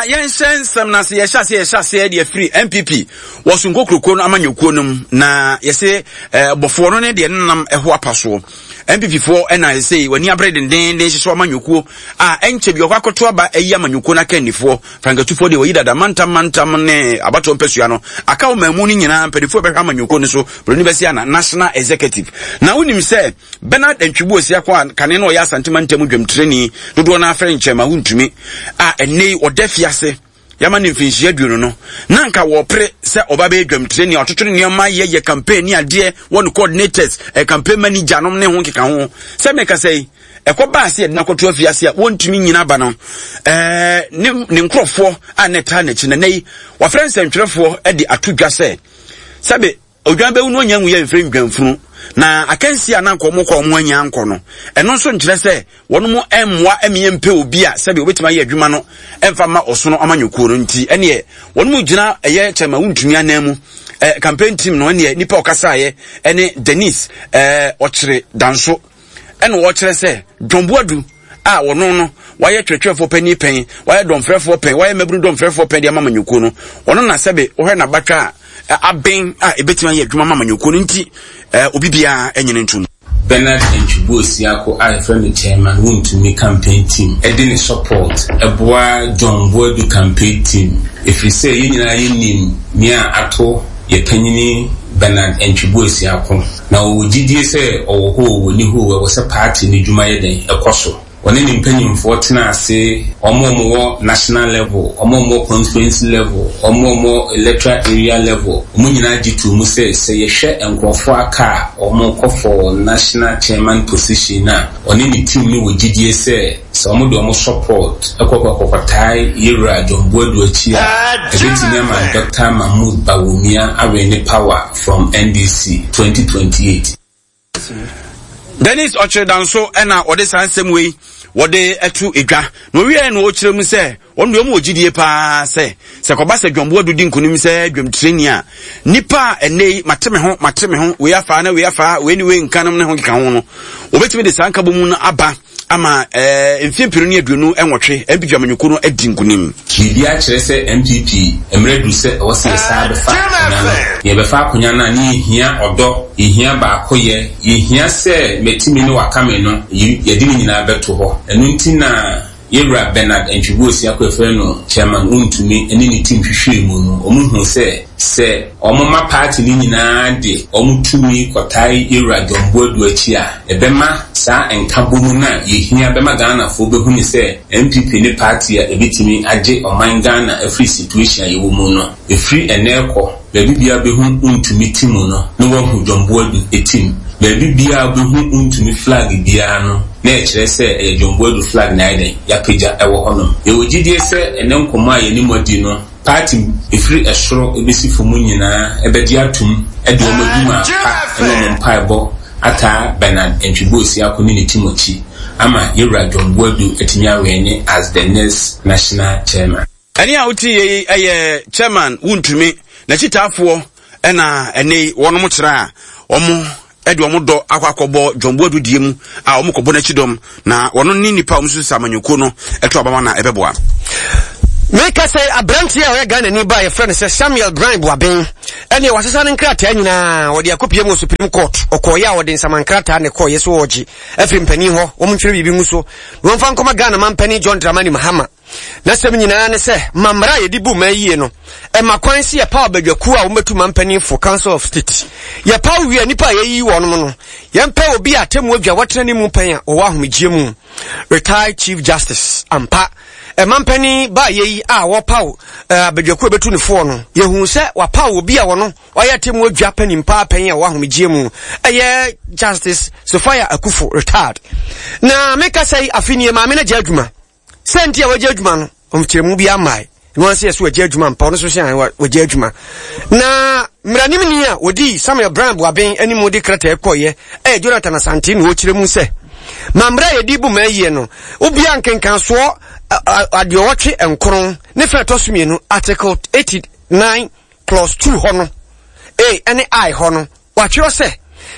yɛnhyɛ nsɛm no ase yɛhyɛ aseɛ yɛhyɛ aseɛ deɛ firi npp wɔ so nkokuroko no amanyɔkuo no mu na yɛse eh, bɔfoɔ no ne deɛ nenam ɛho apa soɔ npp foɔ ɛna yɛse w'ani abere dendenden hyehyɛ amanyɔkuo a ɛnkyɛ bi ɔkɔ akɔto aba ayi amanyɔkuo no akannifoɔ frankatufoɔ deɛ wɔyi dada mantam mantam ne abatoɔ mpasua no aka wɔ maamu no nyinaa mpanimfoɔ bɛhwɛ amanyɔkuo no so buroni bɛsi ana national executive na wonim sɛ Bernard Antwibu Osiako a kane na ɔyɛ Asante mantam dwamtirani dodoɔ no afrɛ nkyɛn ma wontumi a ɛnnɛ yi ɔda fiase yɛama no mfinhyia aduonu no na anka wɔpere sɛ ɔba bɛyɛ dwamtirani a ɔtoto nneɛma yɛ yɛ campaign ne adeɛ wɔ no coordinators eh, campaign manager nom ne ho nkeka ho sɛ meka sɛ yi ɛkɔ baa sɛ yɛde no akɔto afiase a wɔntumi nyina aba no ɛɛ ne ne nkurɔfoɔ a na ɛtaa n'akyi na nɛ yi wɔafrɛ nsɛntwerɛfoɔ de ato dwa sɛ sɛbe Odwan bɛwu no ɔnya nwuiɛ mfiri ndwanfunu, na akansie a na anka wɔn kɔ wɔn anya ankɔ no, ɛno nso nkyerɛ sɛ wɔn mo mmoa mmea mpɛ obi a sɛbi obetumi ayɛ adwuma no mfa mma ɔsono amanyɔkuo no nti ɛneɛ wɔn mo gyina ɛyɛ kyɛma wontumi anan mu eh, campaign team no ɛneɛ nipa ɔkasaeɛ ɛne Denise eh, ɔkyere danso ɛna ɔkyerɛ sɛ John Boadu a ɔno no wayɛ twerɛtwerɛfoɔ panin pɛn wayɛ dɔmfrɛfoɔ pɛn wayɛ mmabunu dɔmfrɛfoɔ pɛn de ama amanyɔkuo no ɔno na sɛbe wohwɛ n'abatwa a aben a ɛbɛtumi ayɛ adwuma ma amanyɔkuo no nti obi biara nyene ntom. Bernard Antwi Osiako a yɛfrɛ no Chairman Wontumi Campaign Team de ne support boa John Boadu Campaign Team ɛfiri sɛ yɛn nyinaa yɛnim nea ato yɛ panyini Bernard Antwi Boasiako. Na ɔwɔ gyidie sɛ ɔwɔ hɔ oo, ɔnni hɔ oo, ɛwɔ sɛ party no dwuma yɛ dɛn? Ɛkɔ so. Ɔne ne mpanyimfoɔ tena ase, wɔn a wɔwɔ national level, wɔn a wɔwɔ constituency level, wɔn a wɔwɔ electoral area level, wɔn nyinaa gye too mu sɛ, sɛ yɛhwɛ nkorɔfoɔ aka a wɔrekɔ for national chairman position no a, ɔne ne team no wɔ gyidie sɛ, Sɛ wɔde wɔn support kɔ kɔkɔtae Yewura John Boadu akyi a, ɛbɛtumi ama Dɔkta Mahmood Bawumia awene power from NDC 2028. Dennis Ɔkyerɛdanso na ɔde saa nsɛm wei wɔde to dwa na ɔwieɛ na ɔkyerɛ mu sɛ wɔn deɛ wɔn wɔ gyidie paa sɛ sɛ kɔba sɛ John Boadu di nkonim sɛ dwamtirani a nipa a ɛnɛ yi mate me ho mate me ho wei afaa na wei afaa wei ne wei nka nom ne ho keka ho no wɔbɛtumi de saa nkabom no aba ama eh, mfeɛ 2028 NPP amanyɔkuo no adi nkonim. Biribiara kyerɛ sɛ NPP mmerɛ aduru sɛ ɛwɔ sɛ yɛsan bɛfa akonya no. Na yɛbɛfa akonya no a, na yɛhia ɔdɔ, yɛhia baakoyɛ, yɛhia sɛ matumi ne wakame no, yɛde ne nyinaa bɛto hɔ. Ɛno nti na Yɛwura Bernard Antwi Osiako a yɛfrɛ no Chairman Wontumi ne ne team hwehwɛɛ mu no, wɔhuu sɛ, sɛ wɔma party no nyinaa de wɔn tumi kɔtae Yɛwura John Boadu akyi a, ɛbɛma saa nkabom no a yɛhia bɛma Ghanafoɔ bɛhu no sɛ NPP ne party a ɛbɛtumi agye ɔman Ghana afiri situation a yɛwɔ mu no. Ɛfiri ɛnnɛ rekɔ, baabi biara wobɛhu Wontumi team no na woahu John Boadu team. Baabi biara wobɛhu Wontumi flag biara no na ɛkyerɛ sɛ ɛyɛ John Boadu flag na ayɛ dɛn? Yɛapagya wɔ hɔnom. Yɛwɔ gyidie sɛ ɛnnɛ nkɔmmɔ a yɛne mo adi no, Party ɛfiri ɛsoro bɛsi fam nyinaa bɛgye atom de wɔn adwuma pa ne wɔn mpaebɔ ataa Bernard Antwi Boasiako ne ne team akyi ama Yɛwura John Boadu atumi awɛne as the next National Chairman. Ɛne a wotie yi yɛ Chairman Wontumi n'akyitaafoɔ ɛna ɛnɛ yi wɔnom kyerɛ a wɔn de wɔn dɔ akɔ akɔbɔ John Boadu die mu a wɔn kɔbɔ n'akyi dɔm na wɔn ne nipa a wɔn susu amanyɔkuo no ɛto abama na ɛbɛboa. Meka sɛ aberanteɛ a ɔyɛ Ghanani ba a yɛfrɛ no sɛ Samuel Brian Boaben ɛneɛ wasesa ne nkrataa nyinaa wɔde akɔpie mu wɔ Supreme Court ɔkɔɔyɛ a wɔde nsama nkrataa ne kɔɔyɛ so wɔgye afiri mpanin hɔ wɔn ntwerɛ biribi ngu so na wɔmfa nkɔma Ghana mampanin John Dramani Mahama N'asɛm nyinaa ne sɛ, ma mmara a yɛde bu man yie no, ɛma kwan sɛ yɛpaw abadwakuo a wɔbɛtu manpanin fo, Council of State. Yɛpaw wie a, nnipa a yɛayiyi wɔnom no, yɛmpɛ obi a atemmuo adwa watena ne mu pɛn a ɔwɔ ahomegyeɛ mu. Retired Chief Justice, ampa, ɛmanpanin baayɛ yi a wɔpaw eh, abadwakuo a ɛbɛtu ne foɔ no, yɛhuu sɛ wapaw obi a wɔno ɔyɛ atemmuo adwa panin paa pɛn a ɔwɔ ahomegyeɛ mu, ɛyɛ Justice Sophia Akufo, retired. Na meka sɛ afe nie maame no agya adwuma. Sɛ nti a wagya adwuma no, ɔmkyerɛmu bi amae. Ɛno anse yɛ so wagya adwuma mpa, ɔno nso hyɛ wagya adwuma. Na mmaranimni a wɔdii Samuel Brown Boaben anim de krataa kɔeɛ ɛyɛ Jonathan Asante na ɔkyerɛ mu sɛ, ma mmerɛ a yɛde bu ma ayie no, wobia nkenkansoɔ aduɔwɔtwe nkron ne fɛ ɛtɔ so mmienu, Article 89 clause 2 hɔ no, A ɛne I hɔ no, wɔatwerɛ sɛ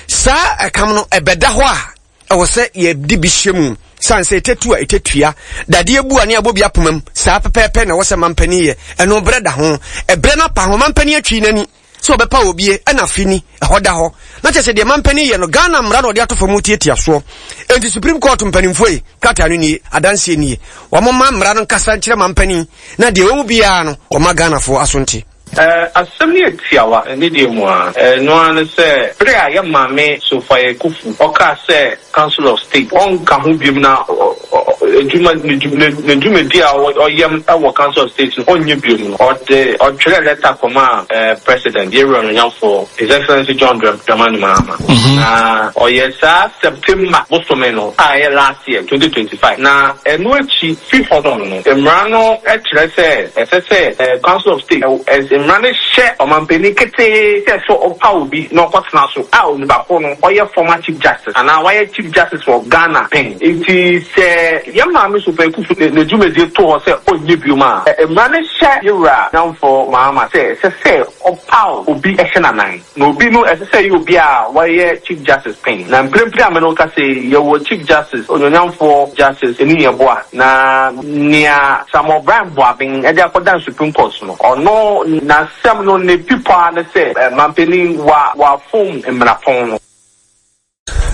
saa ɛkam no ɛbɛda hɔ a ɛwɔ sɛ yɛde bi hyɛ mu. Sane sɛ ɛtɛtu a ɛtɛtua, dadeɛ bu a ne abɔ bi apoma mu, saa pɛpɛɛpɛ na ɛwɔ sɛ mampanin yɛ. Ɛno berɛ da ho. Ɛberɛ no apa ho, mampanin atwi n'ani sɛ ɔbɛpa obie, ɛna afe ni, ɛhɔ da hɔ. Na kyerɛ sɛ deɛ mampanin yɛ no, Ghana mmara na ɔde ato fam tiatia soɔ. Enti Supreme Court mpanimfoɔ yi, krataa no nie, adanseɛ nie. Wɔn mma mmara no nkasa nkyerɛ mampanin, na deɛ ɛwɔ mu biara no, wɔmma Ghanafoɔ aso nte. Asɛm no yɛ tiawa ne deɛ mu ara. Ɛno ara ne sɛ bere a yɛn maame Sophia Akuffo ɔkaa sɛ Council of State ɔnka ho biom na adwuma ne dwumadi a ɔyɛm wɔ Council of State no ɔnyɛ biom no, ɔde ɔtwerɛɛ lɛta kɔmaa President, yɛn Wura Onuonyamfoɔ His Excellency John Dramani Mahama. Na ɔyɛɛ saa September bosome no a ɛyɛ last year, 2025. Na ɛno akyi fi hɔnom no, mmara no kyerɛ sɛ ɛsɛ sɛ Council of State, mmara no hyɛ ɔmanpanin ketee sɛ sɛ ɔpaw obi na ɔkɔtena so a onipa ko no ɔyɛ former Chief Justice anaa wayɛ Chief Justice wɔ Ghana pɛn. Enti sɛ yɛn Maame Sophia Akuffo ne dwumadie to hɔ sɛ ɔnyɛ biom a, mmara no hyɛ Yewura Nyamfo Mahama sɛ ɛsɛ sɛ ɔpaw obi hyɛ n'anan. Na obi no, ɛsɛ sɛ ɛyɛ obi a wayɛ Chief Justice pɛn. Na mprempren a me ne wo kasa yi, yɛwɔ Chief Justice, Onuonyamfoɔ Justice Anu Yeboah. Na nea Samuel Bryan Boaben de akɔdan Supreme Court no, ɔno n'asɛm no, ne pipɔ ara ne sɛ, Mampanin, wa, wafom mmarapɔn no.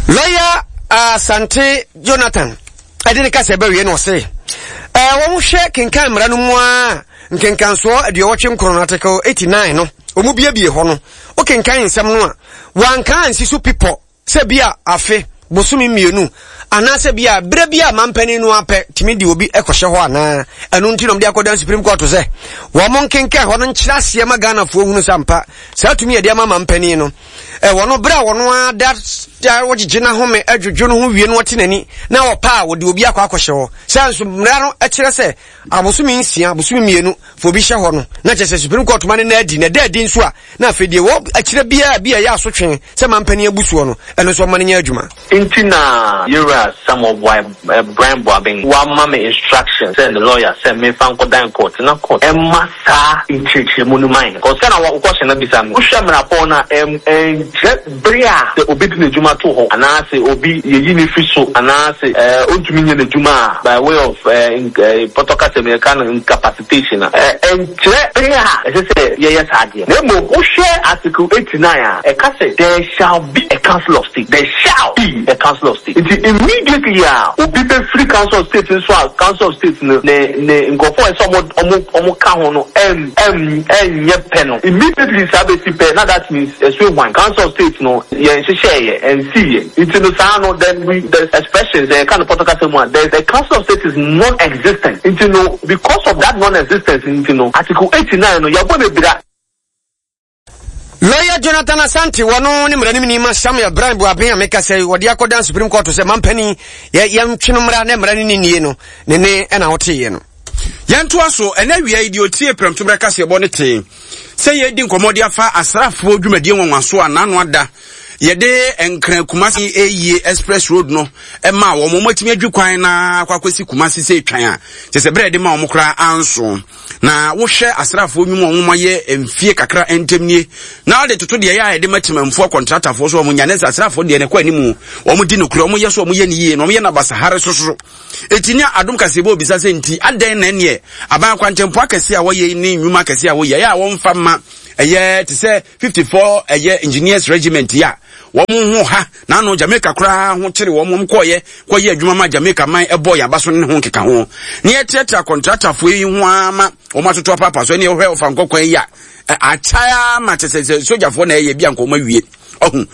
Lɔya Asante Jonathan ɛde ne kasa ɛbɛwie na ɔse ɛɛ wɔn hwɛ kenkan mmara no mu a nkenkansoɔ aduɔwɔtwe nkron article 89 no wɔn biebie hɔ no wokenkan nsɛm no a wɔanka ansi so pipɔ sɛ bi a afe bosome mmienu anaasɛ bi a berɛ bi a mampanin no apɛ tumi de obi kɔhyɛ hɔ anaa ɛno nti na wɔde akɔdan supreme court sɛ wɔn nkenkan hɔ no nkyerɛ aseɛ ma ghanafoɔ hunu sɛ ampa saa tumi yɛde ama mampanin no Ɛwɔ no, bere a ɔno ara da da ɔgyegye n'ahome adwodwo no ho wie no ɔte n'ani na ɔpɛ a wɔde obi akɔ akɔhyɛ hɔ. Sɛ nso mmara no kyerɛ sɛ abosome nsia, abosome mmienu fa obi hyɛ hɔ no, na kyerɛ sɛ Supreme Court ma no na adi, na ɛda adi nso a, na afei deɛ wɔ akyerɛ biara bi a ɛyɛ asotwe sɛ mampanin abu soɔ no, ɛno nso ɔma no nyɛ adwuma. Nti na Yewura Samuel Boae Brian Boabeng wama me instruction sɛ ne lawyer sɛ memfa nkɔdan court na court mma saa nkyerɛkyerɛmu no ma yɛn. Cause sɛ na wo question no bisa no, wohwɛ mmarapɔn no a, ɛnkyerɛ bere a sɛ obi de n'adwuma to hɔ anaa sɛ obi yɛyi no firi so anaa sɛ ontumi nyɛ n'adwuma a by way of pɔtɔ kasa mu yɛka no incapacitation a, ɛnkyerɛ bere a ɛsɛ sɛ yɛyɛ saa adeɛ. Na mmom wohwɛ Article 89 a, ɛka sɛ there shall be a Council of State, there shall be a Council of State. Nti immediately a obi bɛfiri Council of State nso a Council of State no ne ne nkurɔfoɔ a ɛsɛ sɛ wɔn wɔn ka ho no ɛn ɛn ɛnyɛ pɛ no, immediately saa bɛsi pɛ na that means ɛso ahuan. Council of State no yɛn nhyehyɛeɛ, ɛnsiiɛ. Nti no saa no then we the expression sɛ yɛka no pɔtɔ kasa mu a the the Council of State is non-existent. Nti no because of that non-existence nti no Article 89 no yɛabɔ no abira. Lawyer Jonathan Asante wɔno ne mmaranimni ma Samuel Brian Buaben a meka sɛ wɔde akɔdan Supreme Court sɛ mampanin yɛ yɛntwe no mmara na mmara no ne nie no ne ne ɛna woteeɛ no. Yɛntoa so, ɛnɛ awia yi deɛ ɔtie prɛmtoberɛ kaseɛbɔ no tee sɛ yɛredi nkɔmmɔ de afa asraafoɔ dwumadie nwanwaso a n'ano ada yɛde Nkran Kumasi Ayie Express Road no ma wɔn wɔn atumi adwi kwan na akɔ akɔsi Kumasi sɛ etwan a kyɛ sɛ berɛ yɛde ma wɔn koraa anso na wohwɛ asraafoɔ nnwuma wɔn ayɛ mfie kakra ntam nie na wɔde toto deɛ ɛyɛ a yɛde ma temamfoɔ kɔntratafoɔ so wɔn nya ne sɛ asraafoɔ deɛ ne kɔ anim wɔn di nokorɛ wɔn yɛ so wɔn yɛ ne yie na wɔn yɛ no abasahare soso Eti ne adom kaseɛbɔ obisa sɛ nti adɛn na ɛneɛ aban akwantempɔ akɛse a wɔyɛ ne nnwuma akɛse a wɔyɛ ɛyɛ a wɔmfa mma ɛyɛ te sɛ 54 ɛyɛ engineers regiment yi a wɔn ho ha na ano Jamaica koraa ho kyere wɔn wɔn kɔɔyɛ kɔyɛ adwuma ma Jamaica man ɛbɔ yɛn aba so ne ho nkeka ho ne yɛteatea kɔntratafoɔ yi ho ara ma wɔn atoto apaapa so ɛne ɛhwɛ ɔfa nkɔkwan yi a akyɛ ama kyɛ sɛ sogyafoɔ na ɛyɛ bi anka wɔn awie ɔho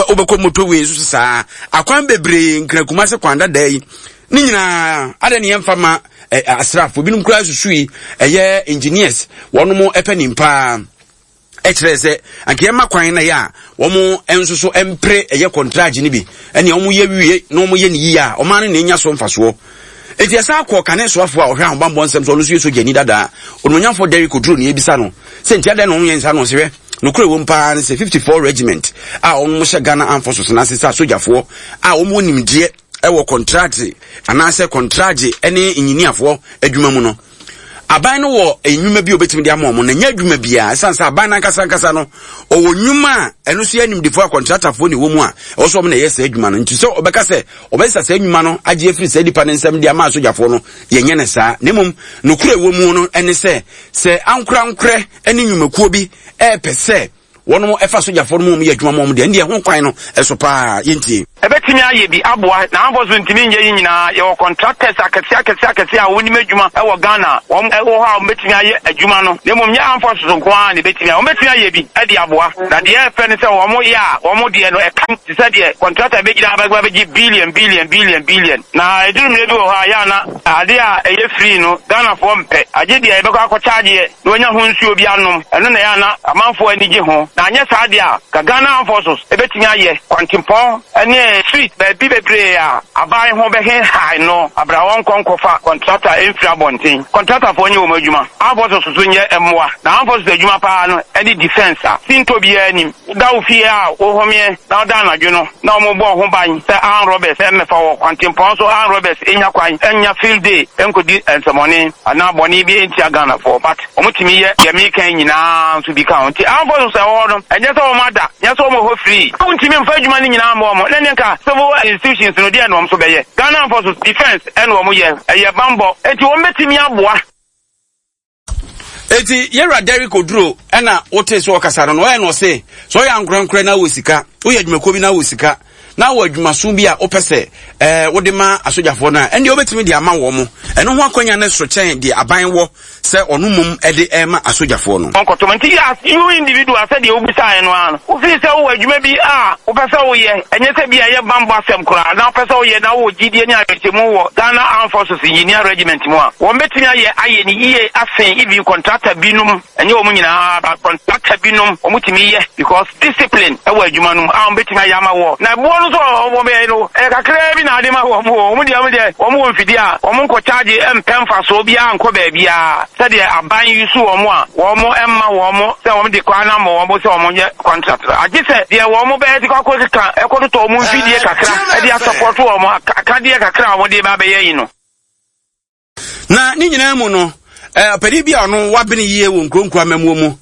wobɛkɔ motorway nso saa akwan bebree nkran kumase kwan dada yi ne nyinaa adɛn ne yɛmfa ma asraafo binom koraa susui ɛyɛ engineers wɔnom ɛpɛ nim paa ɛkyerɛ sɛ anka yɛma kwan na yɛ a wɔn nso so mpere ɛyɛ kɔntragye no bi ɛne wɔn yɛ wie na wɔn yɛ ne yie a ɔman no na enya so mfasoɔ eti ɛsan akɔ kane soafoɔ a ɔhwɛ ahobanbɔ nsɛm so ɔno nso yɛ sogyani dadaa onimonyamfoɔ Derrick Oduro ne ebisa no sɛ nti adɛn na wɔn yɛ nsa no ɔsɛ Nokorɛ wom paa ne sɛ 54 Regiment a wɔn hyɛ Ghana Armed Forces no ase sɛ asogyafoɔ a wɔn wɔ nimdeɛ wɔ kɔntrate anaasɛ kɔntragye ne nyiniafoɔ adwuma mu no. Aban no wɔ nnwuma bi a obetumi de ama wɔn na nyɛ adwuma biara ɛsiane sɛ aban no ankasa ankasa no ɔwɔ nnwuma a ɛno nso yɛ animdefoɔ a kɔntratafoɔ na ɛwɔ mu a ɛwɔ sɛ wɔn na ɛyɛ saa adwuma no nti sɛ ɔbɛka sɛ ɔbɛsesa saa nnwuma no agye afiri saa nipa no nsam de ama asogyafoɔ no yɛnyɛ no saa na mmom nokorɛ ɛwɔ mu no ɛne sɛ sɛ ankorankorɛ ne nnwumakuo bi ɛɛpɛ sɛ wɔn ɛfa sogyafoɔ no mu wɔn yɛ adwuma ma wɔn deɛ ɛndeɛ ho kwan no ɛso paa yɛntie. Ɛbɛtumi ayɛ bi aboa na Amfo so ntumi nyɛ yi nyinaa. Yɛwɔ contractors akɛseɛ akɛseɛ akɛseɛ a wɔnim adwuma wɔ Ghana a wɔn wɔ hɔ a wɔbɛtumi ayɛ adwuma no na mmom nyɛ Amfo so nko ara na ɛbɛtumi ayɛ. Wɔbɛtumi ayɛ bi de aboa na deɛ ɛyɛ fɛ ne sɛ wɔn yɛ a wɔn deɛ no ɛka te sɛ deɛ contractor bɛgyina ha bɛgye billion billion billion billion na ɛduru mmerɛ bi wɔ hɔ a yɛ a na adeɛ a ɛyɛ free no Ghanafoɔ mpɛ agye deɛ yɛbɛkɔ akɔ chargeɛ na wanya ho nsuo bi anom, ɛno na ɛyɛ a na amanfoɔ ani gye ho. Na anyɛ saa deɛ a, nka Ghana Armed Forces bɛtumi ayɛ kwantempɔn ne street baabi bebree a aban ho bɛhenhae no aberɛ a wɔnkɔ nkɔfa kɔntrata mfiri abɔnten. Kɔntratafoɔ nyɛ wɔn adwuma, Armed Forces nso nyɛ mmoa. Na Armed Forces adwuma pa ara no ne defence a sintɔ biara nnim. Woda wo fie a wohomeɛ na woda anadwo no na wɔbɔ wo ho ban sɛ armed robbers mmɛfa wɔ kwantempɔn so, armed robbers nnya kwan nnya field day nkɔdi nsɛmɔne anaa bɔne bi ntia Ghanafoɔ but wɔtumi yɛ deɛ meka yi nyinaa nso bi ka ho. Nti armed forces a ɛwɔ hɔ no ɛnyɛ sɛ wɔn ada, nyɛ sɛ wɔn wɔ hɔ free. Wontumi mfa adwuma no nyinaa mma wɔn na ɛneɛ nka civil institutions no deɛn na wɔn nso bɛyɛ? Ghana armed forces defence ɛna wɔn yɛ, ɛyɛ banbɔ nti wɔn bɛtumi aboa. Eti yɛwura Derrick Oduro ɛna wote so ɔkasa no na ɔyɛ na ɔse sɛ ɔyɛ ankorankorɛ na wɔ sika woyɛ adwumakuo bi na wɔ sika na wɔ adwumaso bi a wopɛ sɛ ɛɛ wode ma asogyafoɔ no a ɛndeɛ wobɛtumi de ama wɔn mo ɛno ho akwanya no so kyɛn deɛ aban wɔ sɛ ɔno mmom ɛde ɛma asogyafoɔ no. Ɔnkɔtɔm nti as you individual sɛdeɛ wobisaeɛ no ara no wofii sɛ wowɔ adwuma bi a wopɛ sɛ woyɛ ɛnyɛ sɛ bi a ɛyɛ bammɔ asɛm koraa na wopɛ sɛ woyɛ na wowɔ gyidie ne awerɛhyɛmu wɔ Ghana Armed Forces Engineer Regiment mu a wɔbɛtumi ayɛ ayɛ no yie asen even contractor binom ɛnyɛ wɔn nyinaa but contractor binom wɔtumi yɛ because discipline wɔ adwuma no mu a wɔbɛtumi ayɛ ama wɔ na ɛboɔ no nso a wɔbɛyɛ no ɛyɛ kakraa bi na ade ma wɔn o wɔn deɛ wɔn deɛ wɔn wɔ mfidie a wɔn nkɔ charge mpɛ mfasoɔ biara nkɔ baabiara sɛdeɛ aban yi so wɔn a wɔn mma wɔn sɛ wɔn de kwan ama wɔn sɛ wɔn nyɛ contract no agye sɛ deɛ wɔn bɛyɛ de kɔ akɔkeka ɛkɔtotɔ wɔn mfidie kakra ɛde asɔpɔto wɔn akadeɛ kakra a wɔn de ba abɛyɛ yi no. Na ne nyinaa mu no, ɔpanin bi a ɔno wabene yie wɔ nkuro nkuro amammuo mu,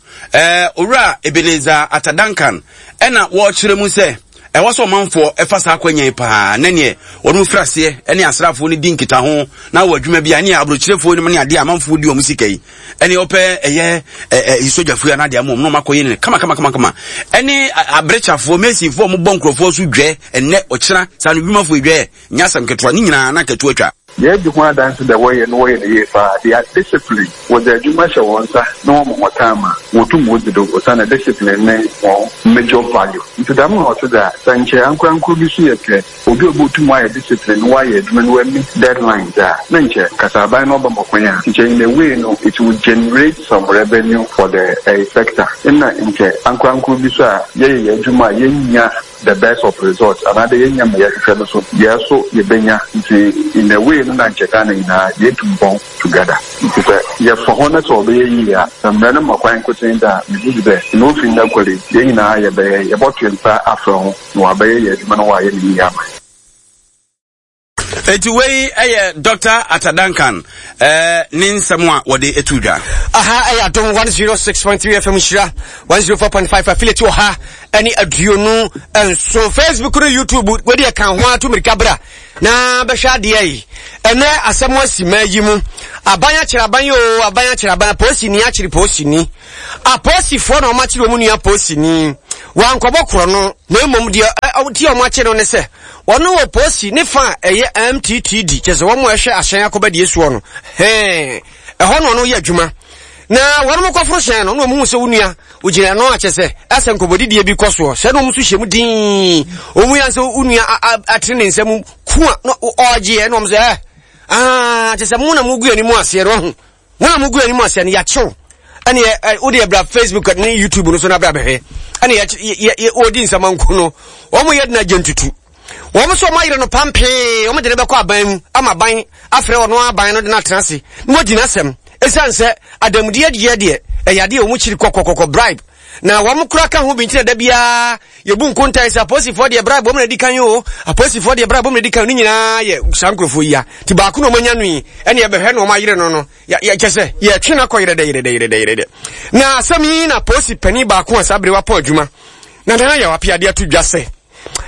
Owura Ebenezer Atta Duncan, ɛna wɔrekyerɛ mu sɛ ɛwɔ sɛ ɔmanfoɔ ɛfa saa akwanya yi paa na neɛ wɔn firi aseɛ ɛne asraafoɔ no di nkitaho na wɔ adwuma bi a ne aburokyerefoɔ no mu ne adeɛ a amanfoɔ di wɔn sika yi ɛne ɔpɛ ɛyɛ ɛɛ sogyafoɔ yi anaa deɛ ama wɔn na wɔn akɔyɛ ne kama kama kama kama ɛne aberekyafoɔ mesinfoɔ a wɔbɔ nkurɔfoɔ so dwɛ ɛnɛ ɔkyena saa no dwumafoɔ dwɛ nyɛ asɛm ketewa ne nyinaa na nketewa twa. Yɛdzi ho adanse dɛ wɔyɛ no wɔyɛ no yie paa. They are disciplined. Wɔdze edwuma hyɛ hɔn nsa na wɔma hɔn time a, wotum wodzi do osiandɛ discipline ne hɔn major value. Ntsi dɛm na ɔtse dze a, sɛ nkyɛ ankorankor bi so yɛpɛ obi a obotum ɔayɛ discipline na ɔayɛ edwuma na oemeet deadlines a, na nkyɛ kasaaban no ɔbɛma kwan a, nkyɛ in a way no it will generate some revenue for the sector. Nna nkyɛ ankorankor bi so a yɛyɛ hɛn edwuma a yennya the best of results anaadɛ yɛnnya ma yɛhwehwɛ no so yɛɛ so yɛbɛnya nti in a way no na nkyɛ Ghana nyinaa yɛtu mpɔn together nti sɛ yɛfa hɔ na sɛ ɔbɛyɛ yie a sɛ mmerɛ no ma kwan nkotsee dɛ a megye dzi dɛ na ofi ndɛ kɔ de yɛn nyinaa yɛbɛyɛ yɛbɔto yɛn nsa afrɛ ho na wɔabɛyɛ yɛn adwuma na wɔayɛ no yie ama yɛn. Eti wei yɛ Dr. Atta Duncan eh, ne nsɛm a wɔde etu dwa. Aha ɛyɛ Adom 106.3 FM Nhyira 104.5 affiliate wɔ ha ɛne 27 Facebook no YouTube wɔde ɛka ho ato mirika bra na bɛhwɛ adeɛ yi ɛnɛ asɛm asi ma yi mu aban akyerɛ aban yi o aban akyerɛ aban polisini akyere polisini apolisifoɔ na wɔn akyere wɔn nua polisini wankɔbɔ korɔ no na mmom deɛ ɔti wɔn akyere no ne sɛ Wɔn wɔ posi ne fa a ɛyɛ MTTD, kyerɛ sɛ wɔn a ɛhwɛ ahyɛn akɔbadie soɔ no, hɛn, ɛhɔ na ɔno yɛ adwuma. Na wɔn kɔforo hyɛn no, na wɔn hu sɛ wo nua, wogyina ɛno a kyerɛ sɛ ɛsɛ nkɔbɔdidie bi kɔ soɔ, sɛ na wɔn nso hyɛ mu dinn, wɔn yɛ sɛ wo nua atene ne nsa mu ku a, na ɔgyeɛ, na wɔn sɛ ɛ, aa, kyerɛ sɛ mo na mo gu anim aseɛ no, ɔho. Wɔn a mugu anim ase no yɛakyew ɛne ɛ wode ɛbra Facebook ne YouTube no so na bra bɛhwɛ ɛne yɛ yɛ wɔdi nsamanku no wɔn yɛ dena gyentutu wɔn nso wɔn ayere no pampee wɔn de no bɛkɔ aban mu ama aban afrɛ wɔn aban no de no atena ase na wɔdi n'asɛm esiane sɛ adamudeɛ deɛ deɛ ɛyɛ adeɛ wɔn kyiri kɔkɔkɔkɔ bribe. Na wɔn kora ka ho bi nti na da biara yɛbu nkontae sɛ apolisifoɔ deɛ bribe wɔn na di kan o, apolisifoɔ deɛ bribe wɔn na di kan, ne nyinaa yɛ saa nkurɔfoɔ yi a. Nti baako na wɔn anya no yi, ɛne ɛbɛhwɛ na wɔn ayere no no, yɛ kyɛ sɛ yɛtwe no akɔ yerɛdɛ yerɛdɛ yerɛdɛ yerɛdɛ. Na asɛm yi na polisi panin baako a saa bere wapɔn adwuma na nana yɛ wapeade ato dwa sɛ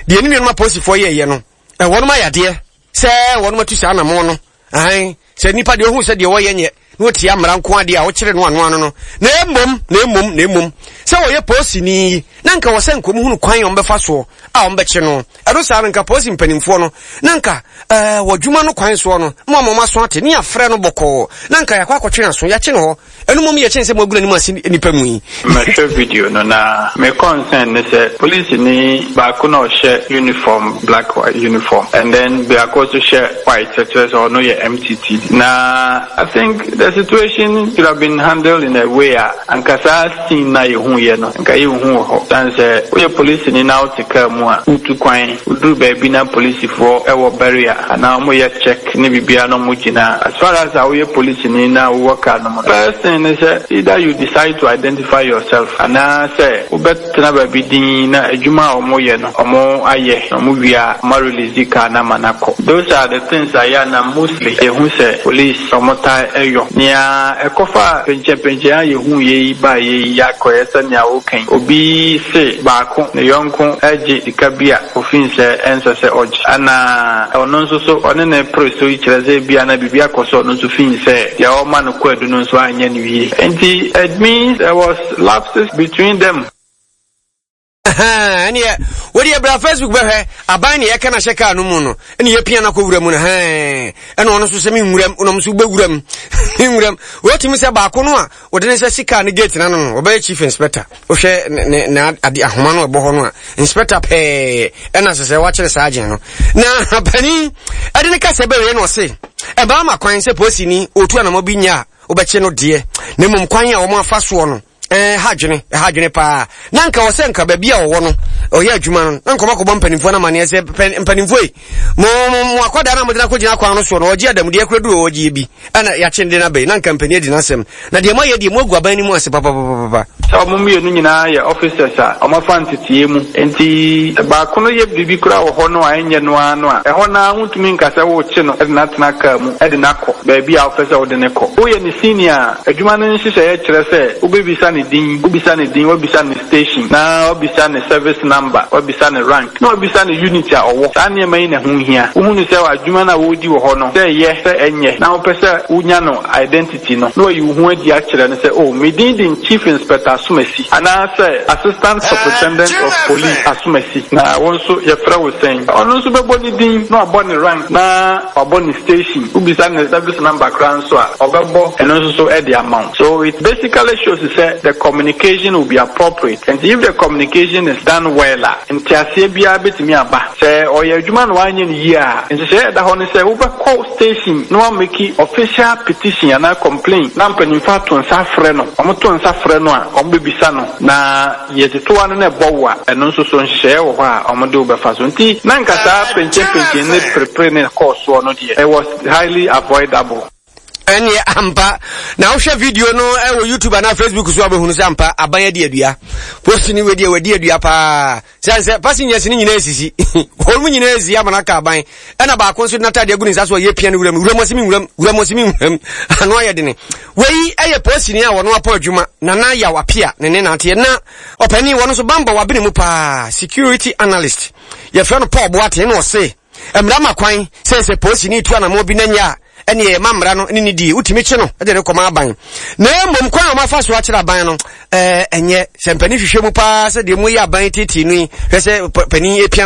deɛ ne nuanom apolisifoɔ yɛɛyɛ no, wɔnom ayɛ adeɛ sɛ wɔnom atu saa anamɔn no. Ahan, sɛ nipa deɛ ɔhu sɛ deɛ wɔyɛ nyɛ na ɔtia mmara nko adeɛ a ɔkyere no ano ano no, na mmom, na mmom, na mmom, sɛ wɔyɛ polisini yi, na nka wɔ sɛ nka wɔhunu kwan a wɔbɛfa soɔ a wɔbɛkye no. Ɛno saa no, nka polisi mpanimfoɔ no, na nka ɛɛ wɔ adwuma no kwan soɔ no, ma wɔn aso ate, ne yɛafrɛ no bɔkɔɔ, na nka yɛakɔ akɔtwe n'aso, yɛakye no hɔ. Ɛno mmom yɛ kyɛn sɛ moagu n'anim ase nnipa mu yi. Mɛhwɛ video no na me concern ne sɛ polisini baako na ɔhyɛ uniform black white uniform and then biako nso hyɛ white kyerɛ sɛ ɔno yɛ MTT na I think the situation should have been handled in a way a anka saa scene na yɛhu yɛ no nka yɛnhu wɔ hɔ sane sɛ woyɛ polisini na wote kaa mu a wotu kwan woduru baabi na polisifoɔ wɔ barrier anaa wɔyɛ check ne biribiara na wɔgyina a, as far as a woyɛ polisini na wowɔ car no mu no, first thing ne sɛ either you decide to identify yourself anaa sɛ wobɛtena baabi dinn na adwuma a wɔyɛ no wɔayɛ na wɔwie a wɔa release car no ama no akɔ. Those are the things a yɛ a na mostly yɛhu sɛ police wɔtaa yɔ. Nea ɛkɔfaa penkyɛnpenkyɛn a yɛhuiɛ yi baeɛ yi akɔyɛ sɛ nea woka yi, obi se baako ne yɔnko gye sika bi a ofii sɛ ɛnsɛ sɛ ɔgye. Ɛna ɔno nso so ɔne no pere so yi kyerɛ sɛ ebia na biribi akɔ so a ɔno nso fii sɛ deɛ ɔrema no kwaadu no nso anyɛ no yie. Enti it means there was lapses between them. Ɛneɛ wodeɛ bra Facebook bɛhwɛ aban ne yɛka no ahyɛ kaa no mu no ɛne yɛpia no akɔ wura mu no hɛn ɛna ɔno nso sɛ menwuram ɔnom nso wobɛwuram menwuram wɔtumi sɛ baako no a wɔde ne nsa si kaa no gate no ano no wɔbɛyɛ chief inspector wohwɛ ne ne ade ahoma no ɛbɔ hɔ no a inspector pɛɛ ɛna sɛ sɛ wakyerɛ saa agyen no na panin ɛde ne kasa bɛwie na ɔse ɛbaa ma kwan sɛ polisini ɔtu anamɔ bi nyɛ a wobɛkye no deɛ na mmom kwan a wɔn afa soɔ no ɛha adwene ɛha adwene paa na nka wɔ sɛ nka baabi a ɔwɔ no ɔyɛ adwuma no na nka ɔmakɔbɔ mpanimfoɔ no amaneɛ sɛ mpanimfoɔ yi mo mo mo akwadaa no a mode no akɔgyina kwan no soɔ no ɔgye adamudeɛ kora duru ɔgyeɛ bi ɛna yɛakye no de no abɛyi na nka mpanin adi n'asɛm na deɛ moayɛ deɛ moagu aban no mu ase papapapapa. Sɛ wɔn mmienu nyinaa yɛ officers a wɔafa nteteeɛ mu, enti sɛ baako no yɛ biribi koraa wɔ hɔ no a ɛnyɛ no ara no a, ɛhɔ no ara wontumi nka sɛ worekye no de no atena kaa mu de no akɔ baabi a wopɛ sɛ wode no kɔ. Woyɛ ne senior a, adwuma no nhyehyɛeɛ kyerɛ sɛ wobɛbisa ne din, wobisa ne din, woabisa ne station, na woabisa ne service number, woabisa ne rank. Na wabisa no unit a ɔwɔ. Saa nneɛma yi na ɛho hia. Wohu no sɛ adwuma no a wɔredi wɔ hɔ no, sɛ ɛyɛ, sɛ ɛnyɛ, na wopɛ sɛ wonya no identity no, na wayi wo ho adi akyerɛ no sɛ, oh, me din de Chief Inspector Asomasi, anaasɛ Assistant Superintendent of Police Asomasi, na wo nso yɛfrɛ wo sɛn? Ɔno nso bɛbɔ ne din, na wabɔ ne rank, na wabɔ ne station. Wobisa ne service number koraa nso a, ɔbɛbɔ ɛno nso so de ama wo. So it basically shows sɛ the communication will be appropriate. Nti if the communication is done well a, Nteaseɛ biara bɛtumi aba. Sɛ ɔyɛ adwuma na wanyɛ no yie a, nhyehyɛeɛ a ɛda hɔ ne sɛ wobɛkɔ station na woameki official petition anaa complaint na mpanimfoɔ ato nsa afrɛ no. Wɔto nsa frɛ no a, wɔbɛbisa no na yɛtotoa no na ɛbɔ wo a, ɛno nso so nhyehyɛeɛ wɔ hɔ a wɔde wo bɛfa so. Nti na nka saa penkyɛnpenkyɛn ne perepere ne ɛkɔɔ soɔ no deɛ, it was highly avoidable. Ɛneɛ ampa na wohwɛ video no wɔ YouTube anaa Facebook so a wobɛhunu sɛ ampa aban adi adua. Post ni wei deɛ wadi adua paa. Sɛ sɛ passengers no nyinaa sisi. Wɔn mu nyinaa si ama no aka aban. Ɛna baako nso de n'atadeɛ agu ne nsa so a yɛpia no wuram. Wuram ɔse me nwuram, wuram ɔse me nwuram. Ano ayɛ dene. Wei ɛyɛ posini a wɔno apɔ adwuma. Nana Yaw Apia ne ne naateɛ. Na ɔpanin wɔno nso bambɔ wabene mu paa. Security analyst. Yɛfrɛ no Paul Boateng na ɔse mmara ma kwan sɛ sɛ polisini tu anammɔn bi na nyɛ a ɛneɛ yɛma mmara no ne ne die wotumi kye no de no kɔma aban na mmom kwan a wɔafa so akyerɛ aban no ɛɛ ɛnyɛ sɛ mpanin hwehwɛ mu paa sɛ deɛ mu yɛ aban tietie no yi hwɛ sɛ panin epia no.